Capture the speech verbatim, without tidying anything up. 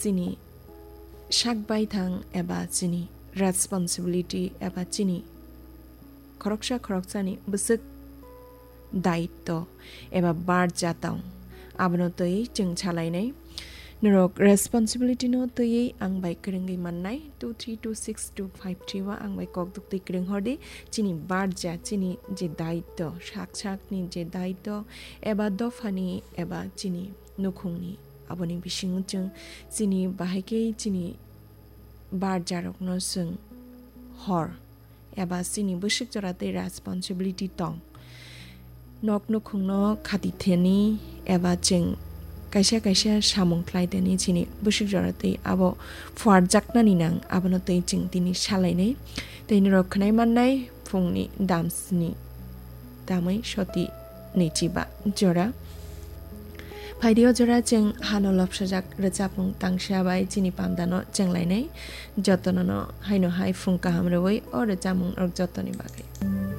chini sak baithang eba chini responsibility eba chini khoroksa khoroksani bwswk daitto eba barja tong, abono twi chwng salainai. Norok responsibility no twiwi ang bai kwrwngwi mannai, two three two six two five three o ang bai kok duktwi kwrwng hordi. Chini barja, chini je daitto, sak sakni je daitto eba dophani eba chini nukhungni, aboni bisingo chwng chini bahai khe chini barjarokno chwng hor eba chini bwswk jora tei responsibility tong. Nok nukhungno khati theni eba chwng kaisa kaisa samung khlai theni chini bwswk jora tei abo phuarjaknani nang, abono tei chwng tini salainai. Tei norok khwnai mannai phungni damsni tamwi soti ni chiba jora. Phaidi o jora chwng hano lobsajak rwchapmung tangsa bai chini pamdano chenglainai. Jotono no haino hai phung kaham rwui o rwchapmung rok jotoni bagwi.